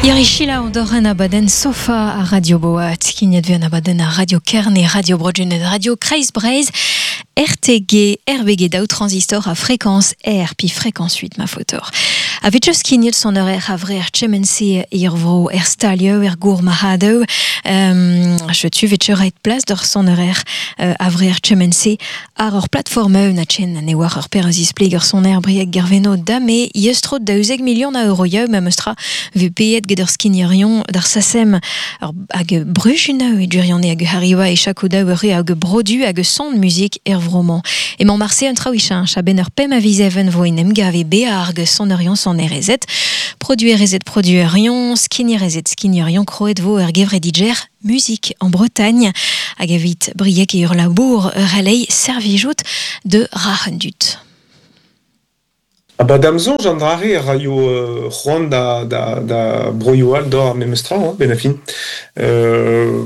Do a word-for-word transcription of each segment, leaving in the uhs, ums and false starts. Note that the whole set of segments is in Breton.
Irishila ondoren abaden sofa a Radio Boat, skignet vez an abadenn a Radio Kerne, Radio Broadjenet, Radio Kreiz Breizh, R T G, R B G daou transistor a fréquence R, pi fréquence huit ma fotor. A vet just skignet son horaire a vrer tchemense irvro er stalio er gour mahadeu, euh, je tu vet ret place d'ur son horaire euh, a vrer tchemense ar ur plateforme na tchen ne war ur per zispleg ur son air brieg gerveno dame yestrot da uzeg million a euro yeu ma meustra ve payet get ur skignerion d'ar sasem ur hag brujuna e durione hag hariwa e chakoda ur hag brodu hag son musique er vroman. E man marse un traouichin, chaben ur pem a vizeven vo in emgave bearg son orion son erezet, produit erezet produerion, skignierezet skignerion, kroet vo ur gevrediger, musique en Bretagne, hag evit briek e ur labour ur alei servijout de rahendut. Ah ba damzon j'en drare raio euh, c'hoant da, da, da broioù all d'or ar memestra, hein, ben a fin. Euh,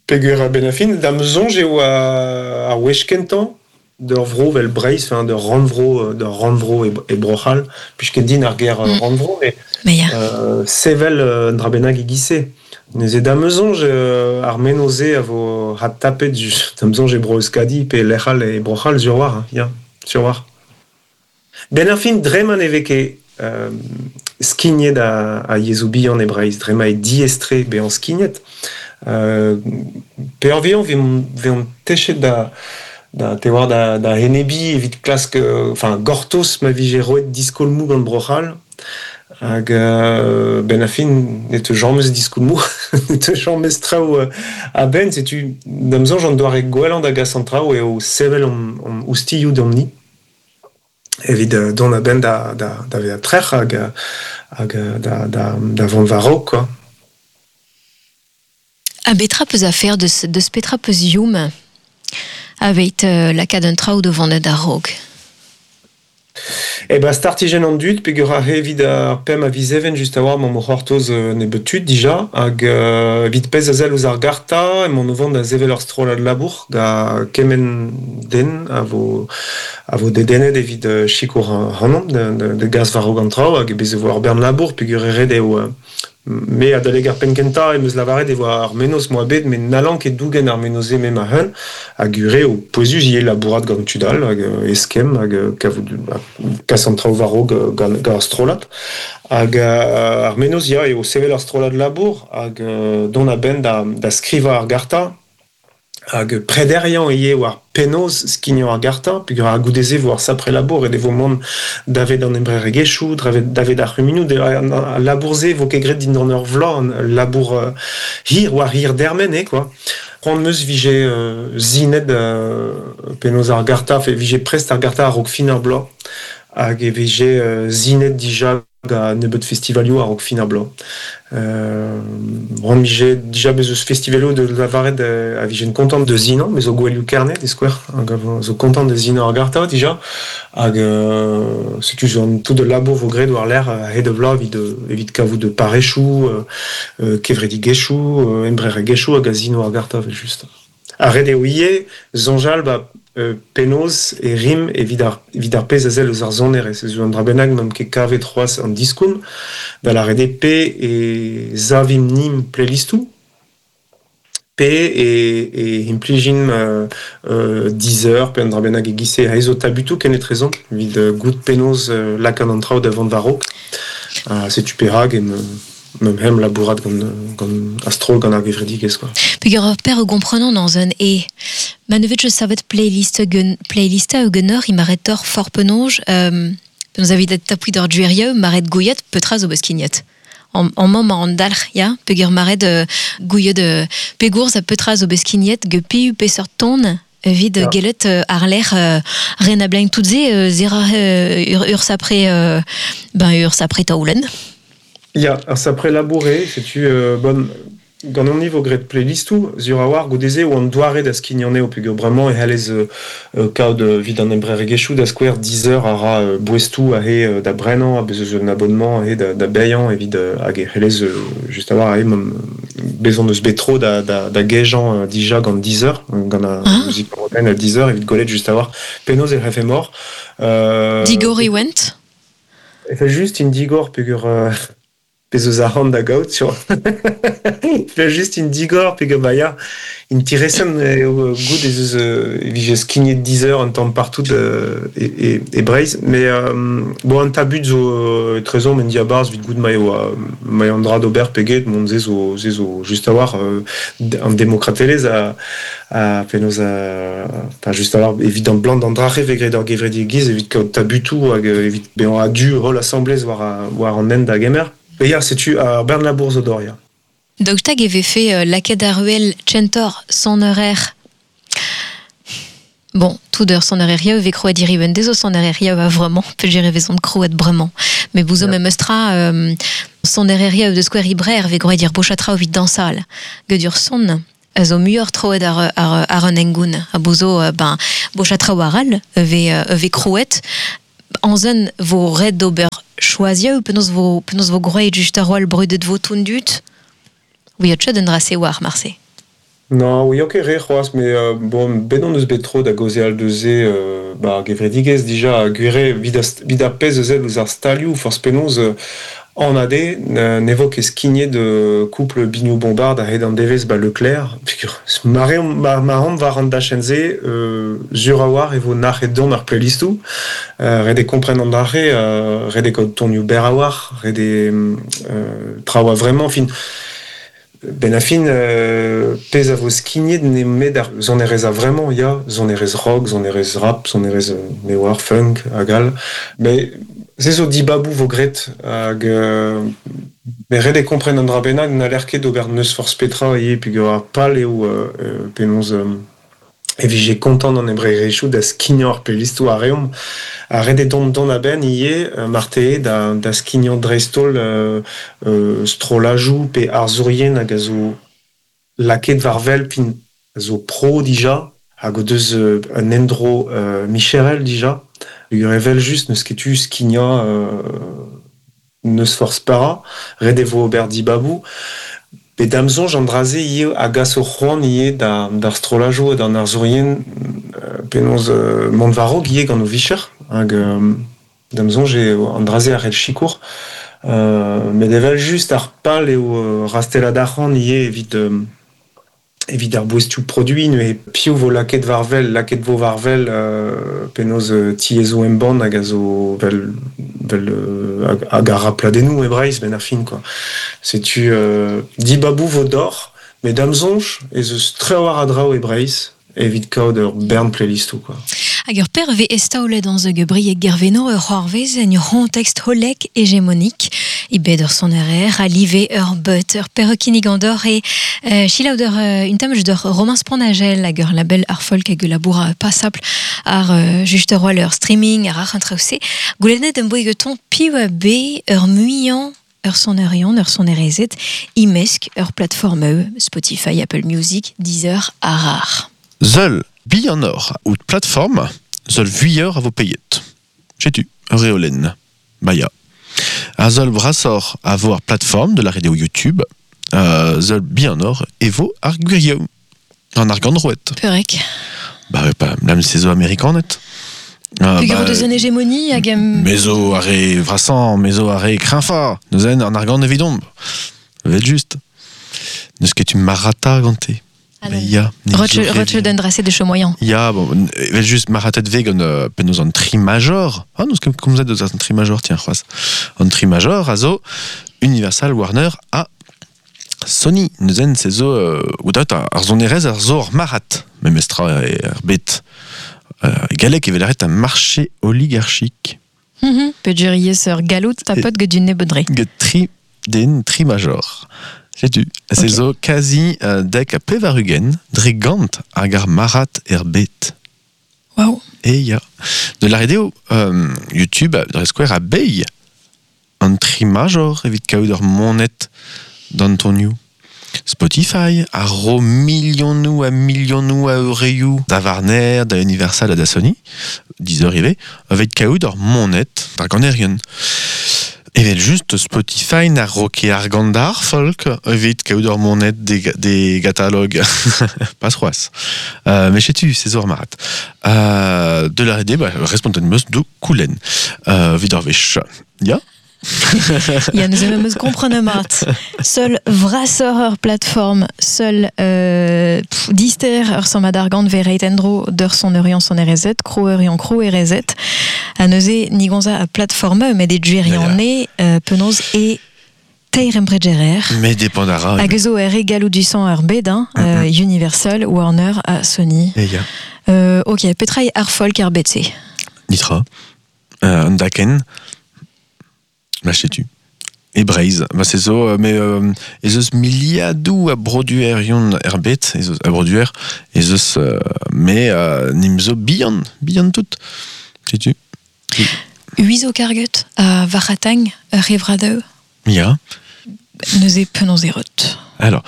peger a ben a fin, damzon eo a, a wech kentañ d'ur vro vel Breizh, enfin d'ur rannvro, d'ur rannvro e, e Bro-C'hall, puisque din ar ger mm. rannvro, mais, mais ya. euh, sevel euh, dra bennak e gise. Neuze damzonj euh, ar menoze a vo hat tapet damzonj e bro Euskadi pe lec'hal e Bro-C'hall sur war, hein, ya, sur war. Ben ar fin dreman eveke euh, skignet a, a yezhoù bihan e Breizh, drema e diestre bezañ skignet. Euh, pe ur vezañ vezañ techet da da te war da, da henebi evit klask, enfin gortoz ma vije roet diskolmoù gant Bro-C'hall hag euh, ben a fin ne te jammez diskolmoù ne te jammez traoù euh, a ben setu da'm soñj an doare gwellañ da gas an traoù eo sevel an, an oustilhoù d'amni evit euh, dont a ben da, da, da vezañ trec'h hag, hag da, da, da vont war-raok, quoi. A betra peus afer deus, deus petra peus youm aveit euh, lakaat un traoù de vandet a-raok? E ba startijenn an dud, peogwir ar evit ar pemp a viz even just a-walc'h m'am c'hortoz euh, nebeut tud dija, hag euh, evit pezh a sell ouzh ar garta, emaon o vont da sevel ur strollad labour ga kement den a vo, a vo dedennet evit euh, sikour ac'hanomp de, de, de gas war-raok an traoù, hag bez e vo ur bern labour, peogwir e ret eo euh, me adalek ar penn kentañ em eus lavaret e voa ar menoz moa bet, met n'hallan ket dougen ar menoz-se me ma-hun, hag ure o pouezus ivez labourat gant tud all, hag eskemm, hag kavout, kas an traoù war-raok gant, gant ar strollad. Hag ar menoz ya eo sevel ar strollad labour, hag dont a-benn da, da skrivañ ar garta, hag prederiañ ivez war penaos skignañ ar garta, peogwir ar goude-se vo ar sapre labour e devo mont davet an embreregezhioù, davet, davet ar c'humunioù, de, an, al labour-se vo ket graet dindan ur vloaz, an labour euh, hir war hir dermen, eh, quoi. C'hoant meus vije euh, zinet euh, penaos ar garta, fe vije prest ar garta a-raok fin ar bloaz, hag e vije euh, zinet dija ga nebeut festivalioù a-raok fin ar bloaz. Euh, Ran vije dija bez eus festivalioù de lavaret euh, a vijen kontant de zinañ, me zo gouelioù Kerne, de skouer, hag a vo, zo kontant de zinañ ar garta dija, hag euh, setu zo an tout de labour vo graet war lec'h a-hed a vloaz evit, evit kavout de parechoù, euh, euh, kevredigezhioù, euh, embreregezhioù hag a zino ar garta evel just. Ar ret eo ivez soñjal ba euh, penaos e rim evit ar, evit ar pezh a sell eus ar sonerezh. Ez eus an dra bennak n'am ket kavet c'hoazh an diskoulm, da lâret eo pe e savimp nimp playlistoù, pe e, e implijimp, euh, euh, Deezer, pe an dra bennak e giz-se aes zo tabutoù ken etrezomp, evit, euh, goût penaos, euh, lakaat an traoù da vont war-raok. Uh, setu perak em, mem hem labourat gant, gant a-stroll gant ar gevredigezh, quoi. Peogwir ur per o gomprenant dans un e. Ma ne vet je savet playlist gen, playlista ou genor, i maret tor for penonj, euh, penaos avit et tapouit d'ur duerieu, maret gouiet, petra zo beskignat. En, en mañ an dalc'h, ya, peogwir maret, euh, gouiet, euh, pegourz a petra zo beskignat, ge piu peseurt ton, evit Ya. gellet, euh, ar lec'h, euh, ren a blaen tout ze, euh, zera, euh, ur, ur sapre, euh, ben, ur sapre taoulen. Ya, ar sapre labouré, setu, euh, bon, gant an niveau graet playlistoù, zur a war goudeze oan doare da skignan eo, peogwir bremañ e c'hallez, euh, euh, kaout, euh, evit an embreregezhioù da skouer Deezer a ra, euh, boestoù aze, euh, da brenañ, a bez eus un abonnement aze da, da baeañ evit, euh, hag e c'hallez, euh, just a war aze mom, bezon eus bet tro da, da, da gejañ, euh, dija gant Deezer, gant ar Ah. muzik européenne a Deezer evit gwelet just a war penaos e c'hefe mor. Euh, Digor e went? E fait just in digor peogwir, euh, Pez eus ar da gaout sur Pe just in digor pe ba ya intéressant eo gout ez eus e vije skignet Deezer un tamm partout euh, e, e, e Breizh mais euh, bon an tabut zo euh, trezon men diabarz vit gout ma eo ma eo an dra d'ober peget mont ze zo ze zo just a war euh, an demokratelezh a a penaos a enfin just a war evit an blant an drache vegret ur gevredigezh evit kaout tabutoù hag evit bezañ a-du holl asamblez war a, war an hent da gemer. E ya, setu ar bern labour zo d'or, ya. Daoust hag e vefe euh, lakaet ar ruel tchentor soner Bon, tout d'heure soner eo ve kroet diriben dezo soner eo a vraiment pe jere vezont kroet bremañ. Mais bouzo yeah. memestra euh, soner eo de square ibrer ve groet dir bochatra evit dansal. Gedur son a zo muioc'h troet ar, ar, ar an engoun. A bouzo, euh, ben, bochatra waral ve, ve kroet. Anzen vo red d'ober choazia ou penaos vo, penaos vo groet just ar roal brudet vo toun dut. Oui, a tched un drase war, marse. Non, oui, ok, re c'hoazh, mais euh, bon, ben on eus bet tro da gaozeal deus se euh, ba gevredigezh dija gwire vid a, vid ar pezh eus ouzh ar stalioù forzh penaos euh, an ade ne vo ket skignet de couple Biniou Bombard a-hed an devezh ba Leclerc. Mare mar, mar omp war an dachenn-se euh, sur a war e vo nac'het don ar playlistoù euh, ret eo kompren an dra-se euh, ret eo kaout tonioù berr a war ret eo euh, traoù a vraiment fin Ben a fin, euh, pezh a vo skignet nemet ar sonerezh a vraiment, ya, sonerezh rock, sonerezh rap, sonerezh euh, me war, funk, hag all. Mais se zo dibabou vo gret hag euh, me ret eo kompren an dra bennak n'haller ket d'ober neus forzh petra ivez peogwir ar pal eo euh, euh, penaos euh, e vije kontant an embregerezhioù da skignañ ar playlistoù a reomp. Ha ret eo dont dont a-benn ivez marteze da, da skignañ dreist-holl euh, euh, strollajoù pe arzourien hag a zo lakaet war-wel pin a zo pro dija hag o deus euh, un endro euh, micherel dija. Peogwir evel just n'eus ket tu skignañ euh, neus forzh para, ret e vo ober dibabou. Pe da'm soñj an dra-se ivez a gas o c'hoant ivez da, d'ar strollajoù d'an arzourien euh, penaos euh, mont war-raok ivez gant o vicher hag euh, da'm soñj eo an dra-se a c'hell sikour. Euh, met evel just ar pal eo euh, rastellat arc'hant ivez evit euh, evit ar boestioù produit neuze piv vo lakaet war-wel, lakaet vo war-wel euh, penaos euh, tiezoù embann hag a zo vel, vel euh, hag, hag ar pladennoù e Breizh ben ar fin quoi. Setu euh, dibabou vo d'or, met da'm soñj ez eus tre war a draoù e Breizh evit kaout ur bern playlistoù quoi. Hag ur perve estaolet an zeug brieg gerveno ur c'hoarvez en ur c'hontext holek hégémonique i bet ur sonerer a live ur beut ur perrokinig an d'or e euh, chilaou d'ur euh, un tamj d'ur Romain Sponnagel hag ur label ar folk hag ul labour passable ar euh, just ur ur streaming ar ar an traoù-se. Goulennet em boa geton piv a be ur muiañ ur sonerion, ur sonerezet, imesk ur plateforme Spotify, Apple Music, Deezer, ar ar. Seul bihanoc'h out plateforme, seul vuioc'h a vo peiet. Setu, ur reolenn. Ba ya. Ar seul brasoc'h a vo ar plateforme de la radio YouTube, euh, seul bihanoc'h e vo ar gwirioù. An argant roet. Peurek. Ba, pa, lam se zo amerikanet. Ah, Peogwir deus un hégémonie hag em... Mezo ar re vrasañ, mezo ar re kreñfañ. Neuzen an argant evidomp. Vet just. N'eus ket tu marata gante. Mais ya, Roche d'un dressé de chomoyan. Ya, bon, evel just maratet ve gant euh, penaos an tri major. Ah, n'eus ket komzet deus an tri major, tiens, c'hoazh. An tri major a zo Universal, Warner ha Sony. Neuzen se zo, euh, oudat ar sonerezh ar zo ar marat. Memestra e ar bet. Euh, galleg evel arret un marché oligarchique. Mm -hmm. Peogwir ivez ur galloud tapet get du nebedre. Get tri den tri major. Setu, se zo kazi euh, dek a pevar-ugent dre gant hag ar marat er bet. Wow. E ya. De la radio euh, YouTube dre skouer a beilh an tri major evit kaout ur monet d'Antonio. Spotify a ro milionoù a milionoù a eurioù da Warner, da Universal ha da Sony, Deezer ivez, evit kaout ur monet d'ar ganerien. Evel just Spotify na ro ket argant d'ar folk evit kaout ur monet des, des catalogues. Pas c'hoazh. Euh, mais setu, se zo ar marat. Euh, de la R D, bah, respontet meus do koulenn. Euh, evit ar wech. Ya? Ya, neuze meus komprenet mat. Seul vrasor ur plateforme, seul euh, pff, dister ur sammad argant vereit endro d'ur son eurion son R Z, kro eurion kro R Z. Ha neuze nigonza a plateforme met e djerion ne euh, penaos e teir embregerer. Mais dépendara. Hag eus zo er re galloudusant ur bed, hein, euh, Universal, Warner ha Sony. E ya. Euh, ok, petra eo ar folk er bed-se? Nitra. Euh, an daken. Ma setu. E Breizh. Ba se zo, euh, mais euh, ez eus miliadoù a broduerion er bed, ez eus a produer, ez eus, euh, mais euh, nim zo bihan, bihan tout. Setu. Ui zo karget a varc'hatagn ur revradeu? Ya. Neuze penaos e reut. Alors,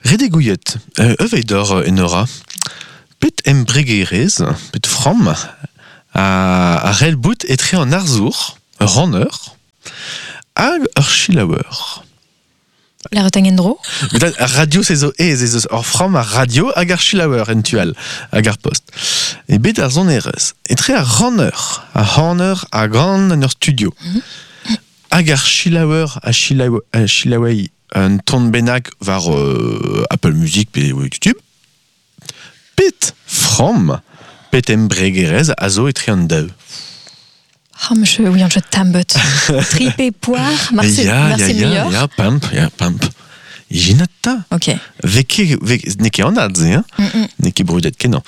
ret eo gouiet, euh, eveidor euh, Enora, pet embregerez, pet framm, a, a c'hell bout etre an arzour, ur ranner, hag ur selaouer. La retang endro? Met ar radio se zo ez ez eus ur framm ar radio hag ar selaouer en tu all, hag ar post. E bet ar sonerezh, etre ar ranner, ar ranner a gan en ur studio. Hag ar selaouer a selaou a selaouei un ton bennak war euh, Apple Music pe YouTube. Pet framm, pet embregerez a zo etre an daou. Ah, monsieur, oui, je tambet. Tripé poire, marse, ya, marse ya, ya, muioc'h. Ya, pemp, ya, pemp. Ijinat ta. Ok. Veke, veke, n'eo ket anat se, hein? Mm -mm. N'eo ket brudet kenañ.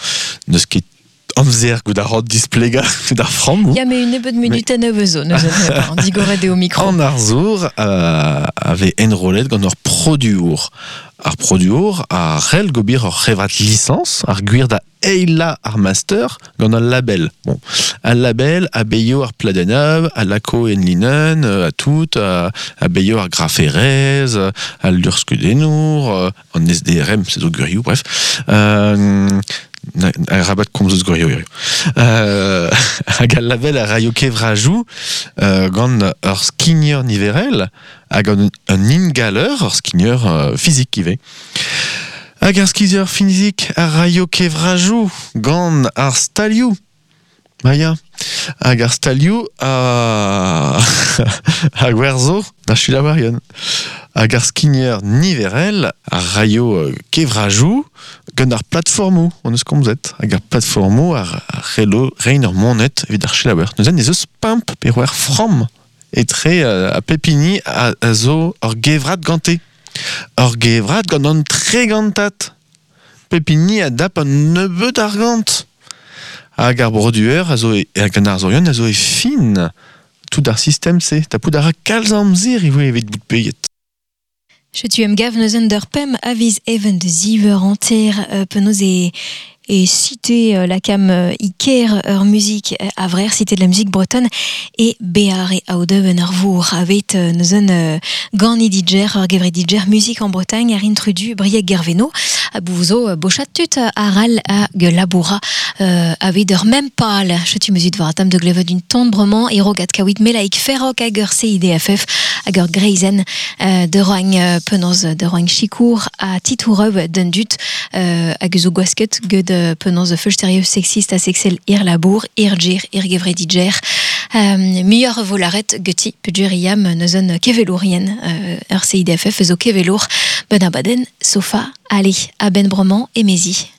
N'eus ket amzer gout ar rod displega d'ar frammoù. Ya, mais une nebeud minuten neuve zo, neuze, an digoret eo micro. An arzour euh, avait enrollet gant ur produour. Ar produour a c'hell gobir ur c'hevrat licence, ar gwir da eila ar master gant al label. Bon, al label a beio ar pladeneuv, a lako en linen, euh, a tout, a, a beio ar graferez, a luc'hskeudennour, euh, an S D R M, c'est zo gwirioù, bref. Euh, na, a rabat komz eus gwirioù, gwirioù. Euh, hag al label a raio kevrajou, euh, gant ur skigner niverel, hag un, un ingaler, ur skigner, euh, fizik ivez. Hag ar skigner fizik a raio kevrajou gant ar stalioù. Ma ya. Hag ar stalioù a, a gwerzo da selaouerien. Hag ar skigner niverel a raio, euh, kevrajou gant ar plateformoù, on eus komzet. Hag ar plateformoù ar, ar c'hello rein ur monet evit ar selaouer. Neuze ez eus pemp pe c'hwec'h framm etre, euh, a pepini a, a zo ur gevrat gante. Ur gevrat gant an tregantat. Pepini a dap an nebeud argant. Hag ar broduer a zo e, hag an arzourion a zo e fin. Tout ar sistem se. Tapout a ra kalz amzer ivez evit bout peiet. Setu em gav neuzen d'ur pemp a viz even de ziver enter, euh, penaos e, e cité, euh, la cam, euh, Iker ur musique, euh, a vrer cité de la musique bretonne et Béar e aodeu en ur vour avet, euh, neuzen, euh, gant didjer ur gevre didjer musique en Bretagne ar intrudu Brieg Gerveno a bouzo, euh, bochat tut aral a laboura, euh, avet ur mem pal chetu mesut war atam de glevet d'un tombrement e rogat kawit melaik ferrok hag ur C I D F F hag ur greizen, euh, de roagn, euh, penaos de roagn chikour a titoureu d'un dut, euh, hag zo gwasket ged penaos de feu sexiste a sexel ir labour, ir djir, ir gevre didjer. Euh, muioc'h vo laret geti peogwir iam neuzen kevelourien, euh, ur C I D F F zo kevelour ben abadenn sofa, allez, a ben bremañ emezi.